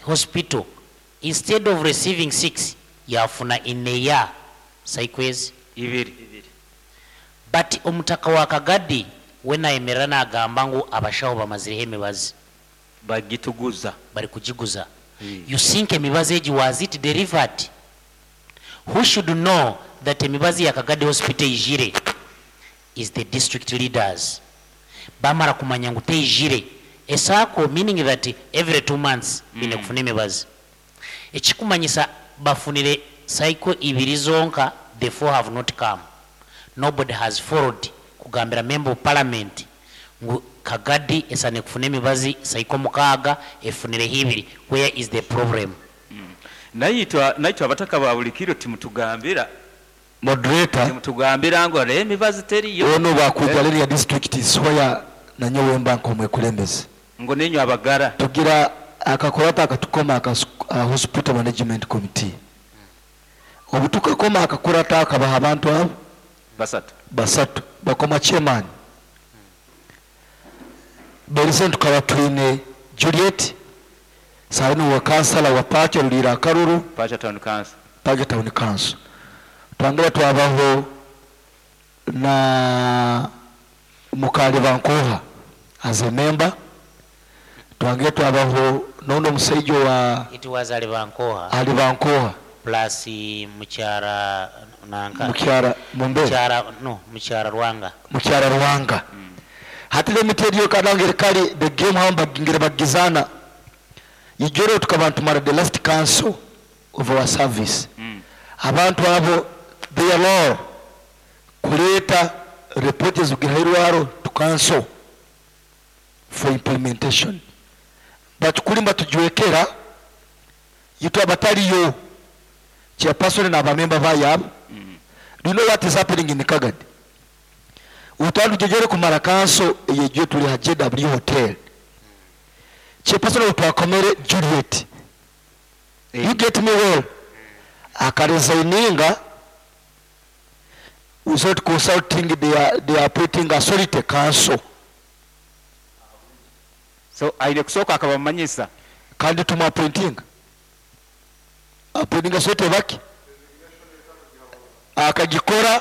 Hospital instead of receiving six yafuna in a year cycle ezi? Ibiri. But omutaka wa Kagadi we nayemerera nagamba ngu abashaho bamazireho emibazi. Bagituguza. Bari kugiguza. You think emibazi egi was it delivered? Who should know that emibazi ya Kagadi Hospital eijire is the district leaders. Bamara kumanya ngu teijire esaako meaning that every 2 months baine kufuna emibazi. Ekikumanyisa bafunire cycle ibiri zonka, the four have not come. Nobody has followed kugambira Member of Parliament ngu Kagadi esane kufuna emibazi cycle 6, efunireho ibiri. Where is the problem? Naitwe abataka ba buli kiro timutugambira. Moderator. Timutugambira ngu era emibazi teriyo. Ono bwakwija leriya district soya nanyowe mba nk'omwekulembeze. Ngu ninywe abagara. Tugira akakurata akatukoma aka hospital management committee. Obu tukakoma akakurata akabaha abantu abo basatu. Basatu bakoma chairman berise. Tukaba twine Juliet saini wa kansala wa Pacho Rulira Akaruru. Pacho Town Council. Pacho Town Council. Twangera twabaho na Mukali Bankoha as a member. Twangera twabaho nono omusaijo wa It was Alibankoha. Alibankoha. Plus mukyara nanka. Mukyara Mumbe. Mukyara, no, mukyara Rwanga. Mukyara Rwanga. Hati let me tell you, kadangere kali the game hamba ngere bagizana ijoro tukaba tumara the last council of our service. Abantu abo, their law kuleeta report ezigihirwaro to council for implementation, but kulimba tujwekera yitu abataliyo chairperson n'abamemba bayabo. Do you know what is happening in Kagadi? Utandu jejere kumara council eyejo tuli ha JW Hotel, chairperson utwakomere Juliet, you get me well, akaresigninga without consulting. They are putting authority council. So aine kusooka akabamanyisa. Kandi tumuappointing appointing authority baki akagikora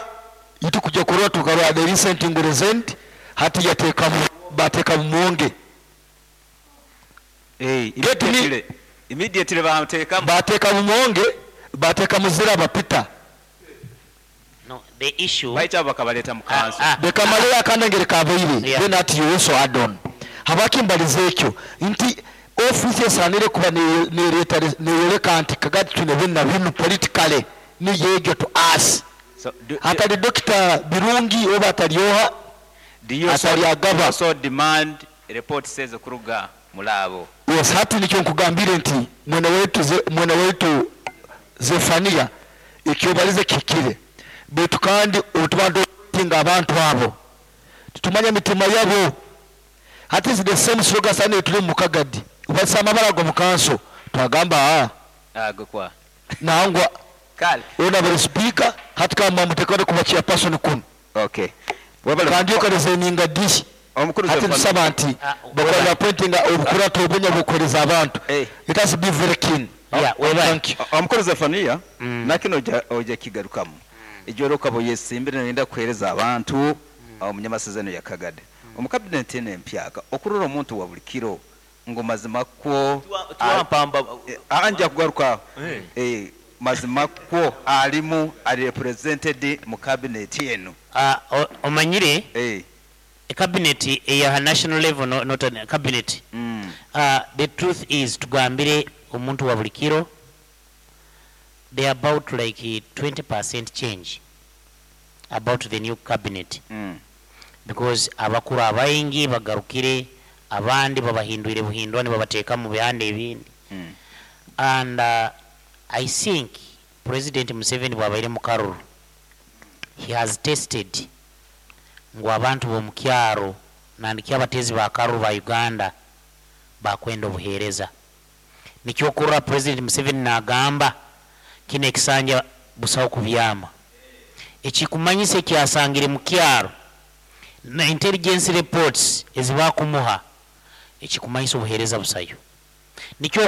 itu kujya kurora tukarora the recent resent hati yateka bateka mumonge. Get me? Immediately bamuteekamu. Bateka mumonge, bateka muzira bapita. No, the issue Baita bakabaleeta mu council. Ah, ah. Bekamaleyo akandangere kabaire. Then ati you also add on habaki mbaliza ekyo nti ofiisi esaanire kuba nereeta neyoleka nti Kagadi twine binu na binu politically niyegyo to us. So Atali Dokita Birungi oba atalyoha do you also, atali agaba. Also demand report says okuruga mulaabo? Yes, hati nikyo nkugambire nti mwene wetu mwene wetu Zefania ekyobalize kikire, baitu kandi otuba nga abantu abo titumanya mitima yabo. Hati is the same slogan sani tuli mu Kagadi ubasa amabara go mu kanso twagamba ah. Ago kwa Nangwa. Kale. Ona bali speaker hati kama mutekone kuba chairperson kuno. Okay, webale. Kandi okaresigninga dishi. Omukuru Hati Zefania. tusaba nti Ah, bakola appointing obukurata obunya bukoleza abantu. Let us be very keen. Yeah, webale. Thank you. Omukuru Zefania, nakino ojja kigarukamu ejoro okaba oyesimbire nenda kuheereza abantu omunyamasezerano ya Kagade omu kabineti eno empyaka okurora omuntu wa buli kiro ngu mazima kwo Twampamba. Anja kugaruka. Mazima kwo alimu ali represented mu cabinet eno. Ah, omanyire cabinet eya national level, no, not a cabinet. The truth is tugambire omuntu wa buli kiro they are about like 20% change about the new cabinet because abakuru abaingi bagarukire, abandi babahindwire buhindwa nibabateeka mu bihanda ebindi. And I think President Museveni bwabaire mu karuru, he has tested ngu abantu b'omukyaro nandiki abateezi ba karuru ba Uganda bakwenda obuheereza. Nikyokurora President Museveni nagamba kino ekisanja busawo kubyama ekikumanyisa ekyasangire mu kyaro na intelligence reports ezibakumuha ekikumanyisa obuheereza busayo nikyo.